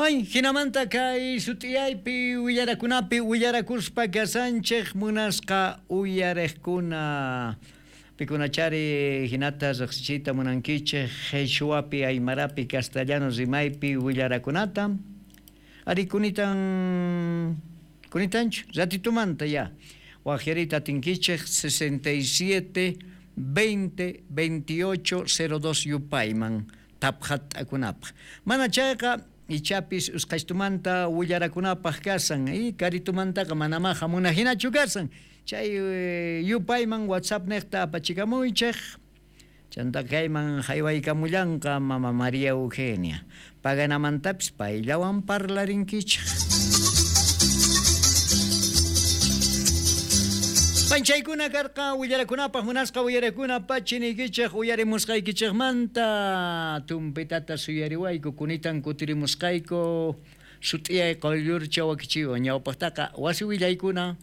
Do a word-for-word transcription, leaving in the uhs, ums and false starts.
Ay, jinamanta kay sut'iyaypi willarakunapi willarakuspa kashanchej munasqa uyarejkuna. Pikunachari hinata riqsichiyta munankichej Qhichwapi, Aymarapi, castellano rimaypi willarakunata. Ari kunitan kunitanchu ratitumanta ya. Waqyariyta atinkichej sesenta y siete veinte veintiocho cero dos yupayman taphat'akunapaq. Mana chayqa ichapis usqhaytumanta willarakunapaq kasan, y karitumantaqa manamá hamuna hinachu kasan. Chay yupayman WhatsApp niqta apachikamuychej. Chanta kayman haywaykamullanqa mama María Eugenia. Paganamantapis payllawan parlarinkichej. Panchaykuna karqa willarakunapaq munasqa willarakuna pachiniykichej uyarimusqaykichejmanta tumpitata suyariwayku kunitan kutirimusqayku sut'iyay quyllurcha wakichiwan ñawpaqtaqa wasi willaykuna.